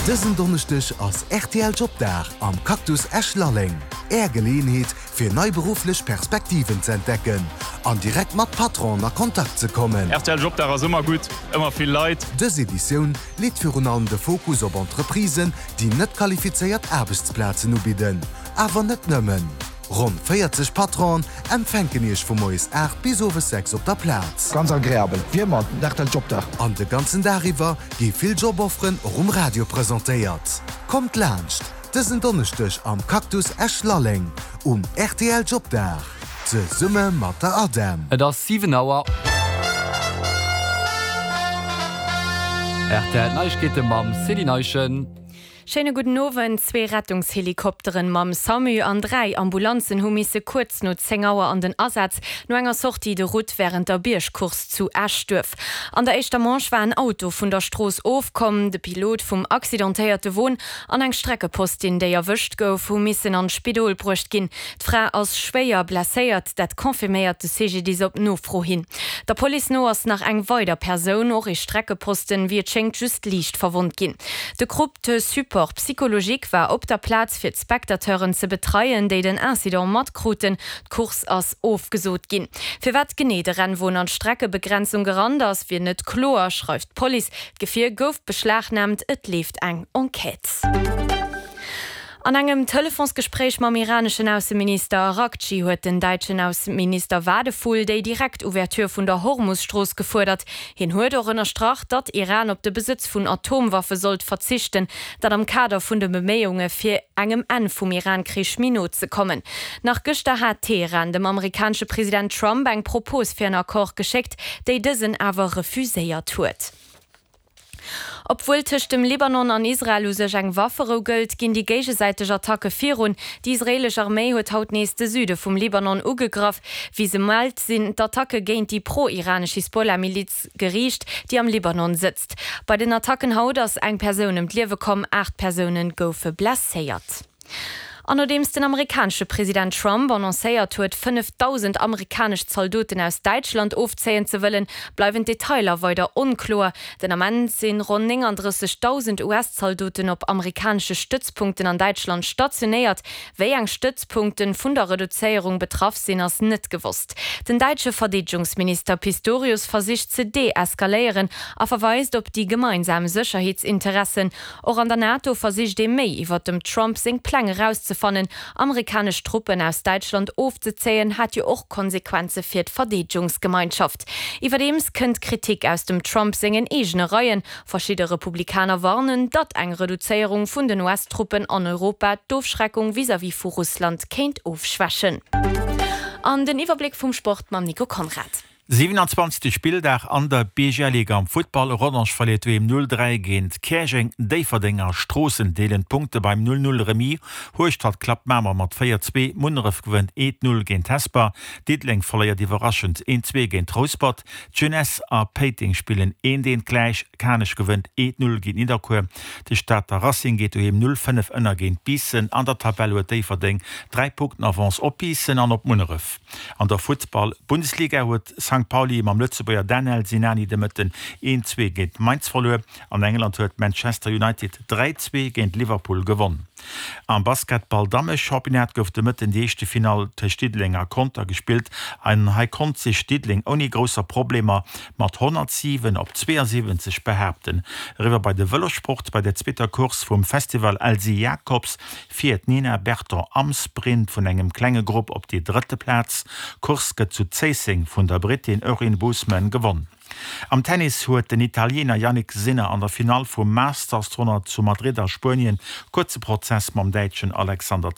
Dësen Donneschdeg ass rtl Jobdag am Cactus Esch-Lalleng. Är Geleeënheet fir nei berufflech Perspektiven ze entdecken an direkt mat Patronen a Kontakt ze kommen. Rtl Jobdag ass ëmmer gutt, ëmmer vill Leit. Dës Editioun leet virun allem de Fokus op Entreprisen, déi net qualifizéiert Aarbechtsplazen ubidden. Awer net nëmmen. Ronn 40 Patronen empfänken Iech vu moies 8 bis owes 6 op der Plaz. Ganz agreabel, wéi ëmmer, den rtl Jobdag. An de ganzen Dag iwwer gi vill Jobofferen och um Radio presentéiert. Kommt laanscht dësen Donneschdeg am Cactus Esch-Lalleng um rtl Jobdag zesumme mat der ADEM. Et ass 7 Auer. Rtl Neiegkeete mam Céline Eischen. Schéine gudden Owend. Zwee Rettungshelikopteren mam Samu an 3 Ambulanzen hu misse kuerz no 10 Auer an den Asaz no enger Sortie de route wärend der Biergcourse zu Eschduerf. An der éischter Manche war en Auto vun der Strooss ofkomm. De Pilot vum accidentéierte Won an eng Streckepostin, déi erwëscht gouf, hu missen an d'Spidol bruecht ginn. D'Fra ass schwéier blesséiert, dat confirméiert de CGDIS op Nofro hin. Der Police no ass nach eng weider Persoun, och ee Streckeposten, wéi et schéngt just liicht verwonnt ginn. De Groupe de support psychologique war op der Plaz fir d'Spectateuren ze betreien, déi den Incident matkruten. D'Course ass ofgesot ginn. Firwat genee de Rennwon an d'Streckebegrenzung gerannt ass, wier net kloer, schreift d'Police. D'Gefier gouf beschlagnaamt, et leeft eng Enquête. An engem Telefonsgespréich mam iraneschen Ausseminister Araghchi huet den däitschen Ausseminister Wadephul déi direkt Ouverture vun der Hormus-Strooss gefuerdert. Hien huet och ënnerstrach, datt Iran op de Besëtz vun Atomwaffe sollt verzichten, dat am Kader vun de Beméiunge fir engem Enn vum Iran-Krich méi no ze kommen. Nach gëschter hat Teheran dem amerikanesche President Trump eng Propos fir en Accord geschéckt, déi dësen awer refuséiert huet. Obwuel tëscht dem Libanon an Israel u sech eng Wafferou gëllt, ginn déi géigesäiteg Attacke virun. Déi israeelesch Arméi huet haut nees de Süde vum Libanon ugegraff. Wéi se mellt, sinn d'Attacke géint déi pro-iranesch Hisbollah-Miliz geriicht, déi am Libanon sëtzt. Bei den Attacken haut ass eng Persoun ëm d'Liewe komm, 8 Persoune goufe blesséiert. An nodeems den amerikanesche President Trump annoncéiert huet, 5.000 amerikanesch Zaldoten aus Däitschland ofzéien ze wëllen, bleiwen d'Detailer weider onkloer. Den Ament sinn ronn 39.000 US-Zaldoten op amerikanesche Stëtzpunkten an Däitschland stationéiert. Wéi eng Stëtzpunkten vun der Reduzéierung betraff sinn, ass net gewosst. Den däitsche Verdeedegungsminister Pistorius versicht ze deeskaléieren a verweist op déi gemeinsam Sécherheetsinteressen. Och an der NATO versicht ee méi iwwer dem Trump seng Pläng erauszefannen. Amerikanesch Truppen aus Däitschland ofzezéien, hat jo och Konsequenze fir d'Verdeedegungsgemeinschaft. Iwwerdeems kënnt Kritik aus dem Trump sengen eegene Reien. Verschidde Republikaner warnen, datt eng Reduzéierung vun den US-Truppen an Europa d'Ofschreckung vis-à-vis vu Russland kéint ofschwächen. An den Iwwerbléck vum Sport mam Nico Conrad. 27. Spilldag an der BGL-Liga am Futtball, Rodange verléiert doheem 0, 3 géint Käerjeng, Déifferdeng a Stroossen deelen d'Punkte beim 0, 0 Remis, Hueschtert klappt Mamer mat 4, 2, Munneref gewënnt 1, 0 géint Hesper, Diddeleng verléiert iwwerraschend 1, 2 géint Rouspert, d'Jeunesse a Péiteng spillen 1, 1 gläich, Kanech gewënnt 1, 0 géint Nidderkuer, de Stater Racing geet doheem 0, 5 ënner géint Biissen. An der Tabell huet Déifferdeng 3 Punkten Avance op Biissen an op Munneref. An der Futtball Bundesliga huet Sankt Pauli mam Lëtzebuerger Danel Sinani de Mëtten 1, 2 géint Mainz verluer. An England huet Manchester United 3, 2 géint Liverpool gewonn. Am Basketball Dammechampionnat gouf de Mëtten déi éischte Finall tëscht Diddeleng a Conter gespillt an hei konnt sech Diddeleng ouni grousser Problemer mat 107 op 72 behaapten. Eriwwer bei de Vëlossport, Bei der zweeter Course vum Festival Elsy Jacobs fiert d'Nina Berton am Sprint vun engem klenge Grupp op déi drëtte Plaz. D'Course gëtt zu Zéisseng vun der Brittin Erin Boothman gewonn. Am Tennis huet den Italiener Jannik Sinner an der Finall vum Masters 100 zu Madrid a Spuenien kuerze Prozess mam Däitschen Alexander.